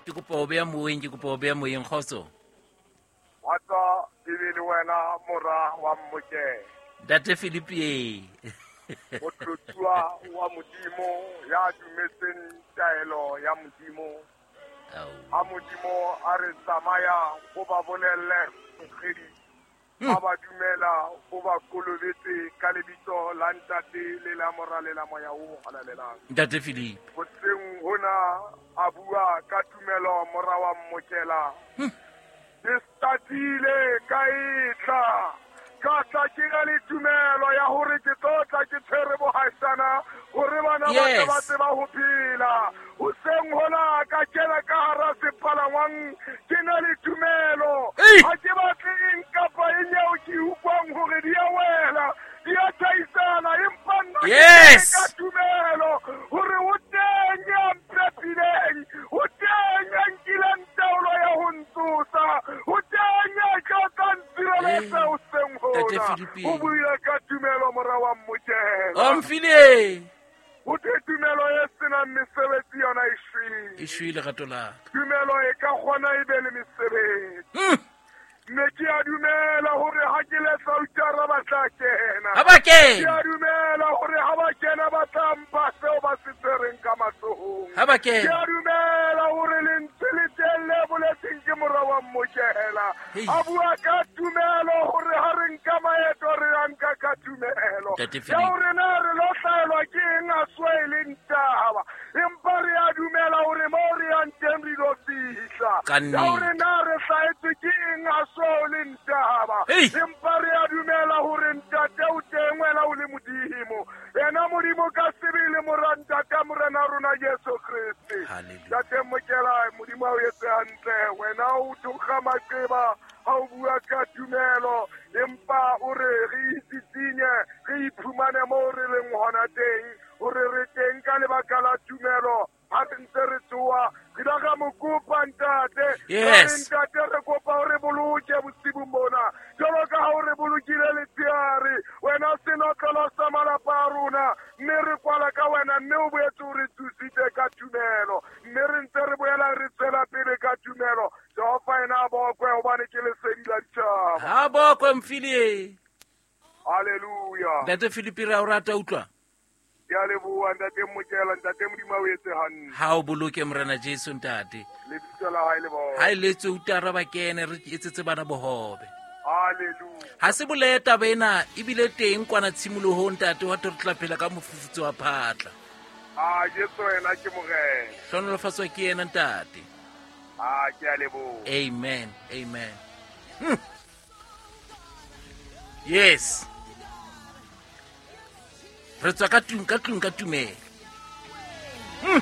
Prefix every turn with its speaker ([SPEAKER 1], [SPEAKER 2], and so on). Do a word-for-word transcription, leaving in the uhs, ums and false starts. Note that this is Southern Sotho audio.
[SPEAKER 1] Ke kopa ho beha moyeng, ke kopa ho beha moyeng kgotso.
[SPEAKER 2] Kgotso e be le wena mora wa Mmokela.
[SPEAKER 1] Ntate Philippe.
[SPEAKER 2] Motlotsuwa wa Modimo ya dumetseng taelo ya Modimo. Ha Modimo a re tsamaya o ba bolelle nkgedi. Ha ba dumela o ba kolobetse ka lebitso la Ntate le la Mora le la Moya o Halalelang.
[SPEAKER 1] Ntate Philippe.
[SPEAKER 2] Hoseng hona a bua ka tumelo mora wa Mmokela. Ke statile ka etla. Ka tla ke na le tumelo ya hore ke tlo tla ke tshwere bohaisana hore bana ba tle ba tseba ho phela. Hoseng hona ka kena ka hara sepalangwang ke na le tumelo. Ha ke batle eng kapa eng eo ke utlwang hore di a wela, di a thaisana, empa nna ke ka tumelo hore o teng ya mphepileng, o teng ya nkileng taolo ya ho ntsosa, o teng ya tla tla ntshireletsa hoseng hona. O buile ka tumelo mora wa Mmokela.
[SPEAKER 1] O mfile.
[SPEAKER 2] O te tumelo e senang mesebetsi yona e shwele.
[SPEAKER 1] E shwele lerato la ka.
[SPEAKER 2] Tumelo e ka kgona e be le mesebetsi. Mme ke a dumela hore ha ke le Sautara ba tla kena.
[SPEAKER 1] Ha ba kena.
[SPEAKER 2] Ke a dumela hore ha ba kena ba tla mpha seo ba se tshwereng ka matsohong.
[SPEAKER 1] Ha ba kena.
[SPEAKER 2] Ke a dumela hore lentswe le teng le boletseng ke mora wa Mmokela. A bua ka tumelo hore ha re nka maeto re a nka ka tumelo. Ya hore na re lo hlaelwa ke eng a swe e leng taba. Empa re a dumela hore moo re yang teng re lo fihla. Ya hore na re hlaetswe ke eng a swe e leng taba. Empa re a dumela hore Ntate o teng wena o le Modimo. Yena Modimo ka sebele mora Ntate Morena rona Jesu Kriste. Ntate Mmokela, Modimo a o etse hantle. Wena o thokga maqeba ha o bua ka tumelo, empa o re re itsitsinye, re iphumane moo re leng hona teng, hore re teng ka lebaka la tumelo. Ha re ntse re tsoa, re la ra mo kopa Ntate.
[SPEAKER 1] Yes.
[SPEAKER 2] Ntate re kopa hore boloke bosibung bona. Jwalo ka ha o re bolokile letshehare, wena senotlolo sa malapa a rona, mme re kwala ka wena, mme o boetse o re thusitse ka tumelo. Mme re ntse re boela re tswela pele ka tumelo. Jehova ena a bokwe hobane ke lesedi la ditjhaba.
[SPEAKER 1] Ha bokwe mfile.
[SPEAKER 2] Hallelujah.
[SPEAKER 1] Ntate Philippe re a o rata utlwa.
[SPEAKER 2] Ke a leboha Ntate Mmokela, Ntate Modimo a o etse hantle.
[SPEAKER 1] Ha o boloke Morena Jesu Ntate.
[SPEAKER 2] Lebitso la hae le bokwe.
[SPEAKER 1] Ha e letse utara ba kene re etsetse bana bohobe.
[SPEAKER 2] Hallelujah.
[SPEAKER 1] Ha se boleta taba ena ebile teng kwana tshimolohong Ntate wa re tla phela ka mofufutso wa phatla.
[SPEAKER 2] Ah Jesu ena ke Morena.
[SPEAKER 1] Hlonolofatswa ke yena Ntate.
[SPEAKER 2] Ah ke a leboha.
[SPEAKER 1] Amen. Amen. Hmm. Yes. Re tswa ka tlung ka tlung ka tumelo. Hmm.